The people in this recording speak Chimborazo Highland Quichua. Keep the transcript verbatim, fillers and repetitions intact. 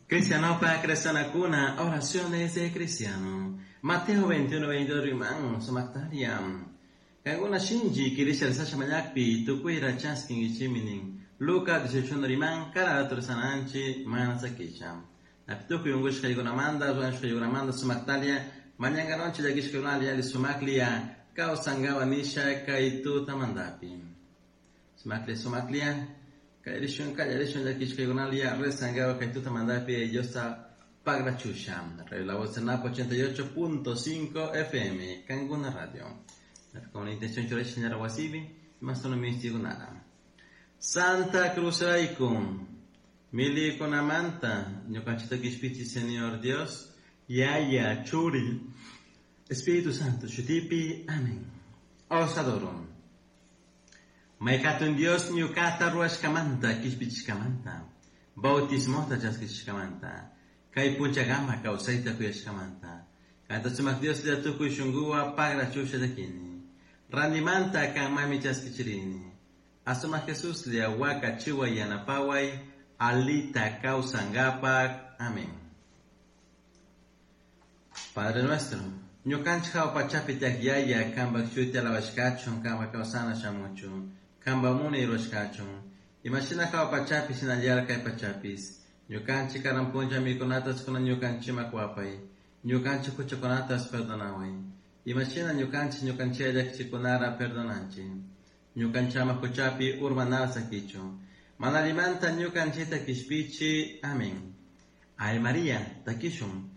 Cristianopa cristianakuna, oraciones de cristiano. Mateo veintiuno, veintidós riman, sumaqtaria. Kankuna shinchi kirisha rezasha mañakpi, tukuyra chaskinkichikmi. Lucas dieciocho riman, cada rato rezananchi, mana sakisha. Tukuy unkushkaykunamanta, ruwashkaykunamanta sumaqtaria, mañankanonchik llakishkakunalla alli sumaklia, kawsankawa nisha kay tutamantapi. Sumaklia, sumaklia, kallarishun, kallarishun llakishkaykunalla rezankawa kay tutamantapi, Diosta pagrachusha. Radio La Voz de Napo ochenta y ocho punto cinco F M, Kanguna Radio. Con la intención churash ñara wasibi, más no mistigunara. Santa Cruz Raikun, milikunamanta, ñukanchita kishpichi Señor Dios, Yaya, Churi, Espíritu Santo, Shutipi, amén. Os adoro. Maykatun Dios ñukata ruashkamanta, kishpichishkamanta, bautismota chaskishkamanta, kay punchagama kawsayta kuyashkamanta, kanta sumak Dios la tukuy shunguwa pagra chusha takini, randimanta kanmami chaskichirini, asuma Jesús le waka chiwa yanapaway, alita kawsangapak, amén. Padre nuestro, ñukanchik hawa pachapi tiyak yaya, kanpak shuti alabashkachun, kanpak kawsana shamuchun, kanpak munay rurashkachun, imashina hawa pachapi shinallara kay pachapis, ñukanchik karan puncha mikunatas kuna ñukanchikman kuwapay, ñukanchik huchakunatas perdonaway, imashina ñukanchik ñukanchiklla llakichikunara perdonanchik, ñukanchama huchapi urmanara sakichun, mana allimanta ñukanchikta kishpichi, amén. Ay María, takishun,